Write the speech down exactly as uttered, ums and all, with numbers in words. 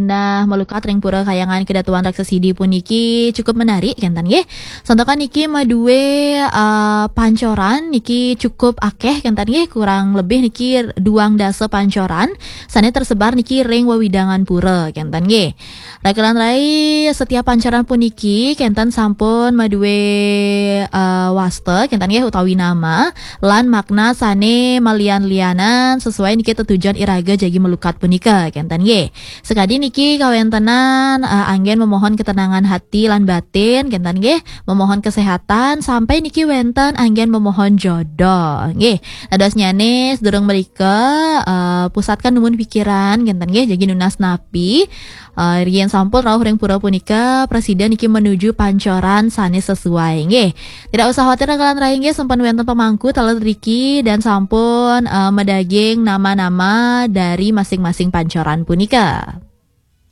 Nah, melukat ring pura Kahyangan Kedatuan Raksasidi puniki cukup menarik, kenten nggih. Santakan niki madue, eh, pancoran niki cukup akeh, kenten nggih, kurang lebih niki duang dasa pancoran sane tersebar niki ring wewidangan pura, kenten nggih. Rakalan rai, setiap pancoran puniki kenten sampun madue, eh, wasta, kenten nggih, utawi nama lan makna sane malian-lianan sesuai niki tetujon iraga jagi melukat punika, kenten nggih. Sekadi niki kawentenan, eh, anggen memohon ketenangan hati lan batin, kenten nggih, memohon kesehatan, sampai niki wenten anggen memohon jodoh nggih. Dadosnyane sedurung merika, eh, pusatkan dumun pikiran, kenten nggih, jagi nunas napi. Eh, yen sampun rauh ring pura punika, prasida niki menuju pancoran sane sesuai nggih. Tidak usah khawatir, rakalan rai nggih, sampun wenten pemangku taler riki dan sampun, eh, madaging nama-nama dari masing-masing pancoran punika.